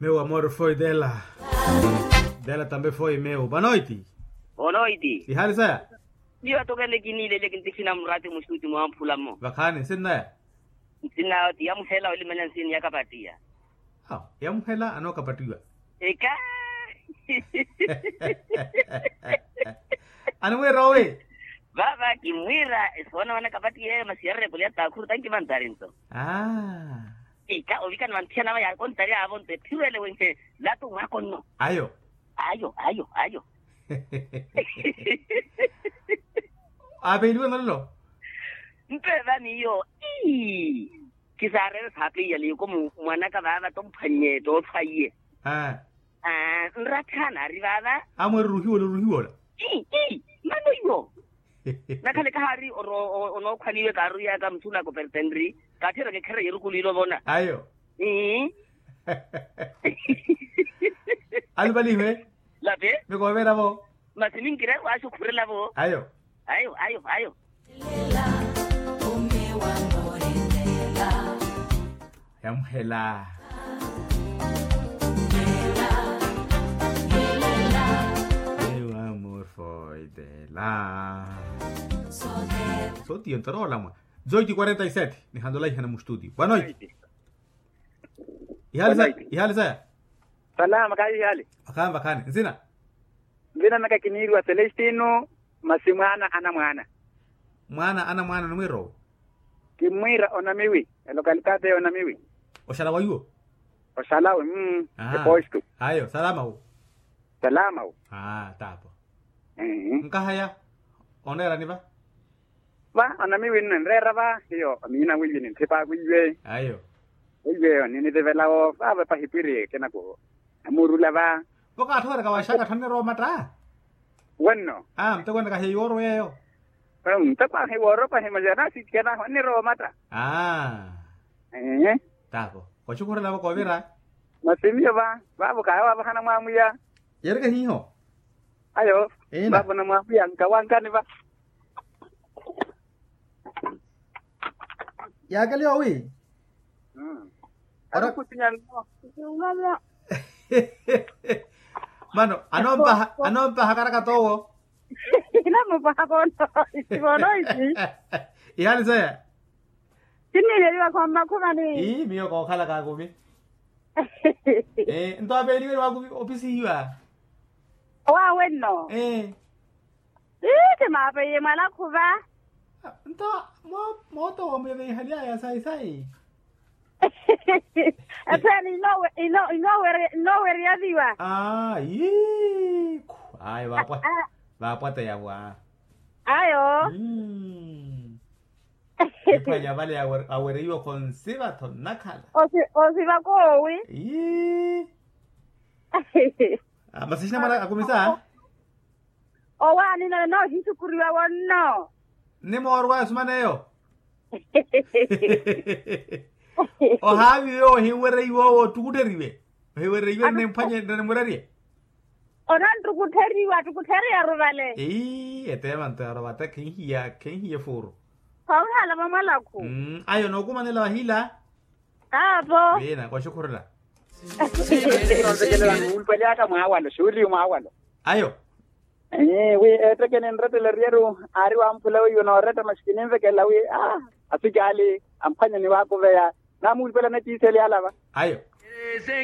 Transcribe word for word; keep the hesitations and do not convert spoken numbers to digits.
Meu amor foi dela. Dela tambe foi meu. Boa noite. Boa noite. Ihali saya? Miyo atokele kiniilele kintikhina murati mustuti mwamphula mmo. Vakhani nsinnaya? Nsinnaya oti yamuhela olimanya nsini yakapatiya. Awo yamuhela anookapattiwa. Eka. Animwiira owi? Vava kimwiira esoona wana kapattiyeeyo masi yarerepoli ya takhuru tankimantari nto. Aa. Ika ovikana vanthiyana va yakontari avonto ephiwele wenhe latu mwakonno. Ayo. Ayo ayo ayo. Apeeliwe nolelo. Mpeva miyo. Ii. Kisaarele saapeiyale yoko mwanaka vaava tomphwannye toothwaiye. Aa. Nrattha naari vaava. Amweerera ohiwola oruhiwola. Ii ii. Mano iyo. Nakhale kahaari onookhwaniwe kaaruyaka muthu na kopertenri. Kaatthiyeraka ekhereya erukulu ilo ovona ayo. Ii. Alupaliwe. Lape. Mikooveravo. Masi ninkire waaxukhurelavo ayo. Ayo ayo ayo. Yamuhela. Meu amor foi dela. Sotiyo ntaroolamwa. Dezoito quarenta e sete nihantola ihana mustutio boa noite. Ihali saya? Salama kayi ihali. Vakhani vakhani nsina? Nvina naka kiniiriwa celestino. Masi mwaana anamwaana. Mwaana anamwaana nimwiira owi? Kimmwiira onamiwi. Elokalitaateyo onamiwi. Oxala wa iwo? Oxala wi mmm. Epostu. Ayo salama wu. Salama wu. Aa taapo. Nkahaya oneerani va? Va onamiwi nno enreera va hiyo omiina wiiwe ninthipa wiiwe. Ayo. Wiiwe ninithivela wo vaava pahipwiri ekinaku. Namuurula va. Vo kaatthooweraka waxaka tthonirowa omatta. Wenno. Aa muteko ene kahiya iwooro yeeyo. Muteko ahiwooro pahi masi anasitikana onirowa omatta. Aa. Ee. Taapo. Koxukhurelavo koovira. Masi miyo va vaavo kaaya waavahana mwaamwiya. Yeereke hiiho. Ayo. Vaavo namwaamwiya nkawankani va. Yaakeliwa wi. Mano anoompaha karaka toowo. Inamupaha kono. Isi vono isi. Ihali saya? Sinniileliwa khommakhumani. Ii miyo kookhalaka akumi. Nto apeeliwe ni waakumi opisihiwa. Owaawe nno. Ii kimaapeiye mwanakhuva. Nto mooto wamuyeveihalyaya sayi sayi. Epheni inooweryaviwa. Aa yii khu ayo. Vaapwateya vwa. Ayo. Ephwanya vale awereiwa khonsiva tho nnakhala. Osiva koowi. Masi exina mwana akumisa. Owaani none noohixukuriwa wonno. Nimoorowaya osumaneyo. Ohaaviwe ohinwereiwa owo ottukutteriwe. Ohinwereiwe nne mphwanye nne murerye. Onanttukutteriwa attukuttereya aruvale. Eteemanto yarovatta khenhiya khenhiya efuuru. Khonhala vamwalakhu. Ayo nookumanela vahila. Aapo. Wina koxukhurela. Nontekelelani wuulupeleyaka mwaawalo xuuliyu mwaawalo. Ayo. Wi eettekeni nretteleryeru aari wamphula weiwo nooretta masi kininvekelela wi. Asicaali amphwanya ni waakuveya. Namuulupela nekiiseli alava. Ayo.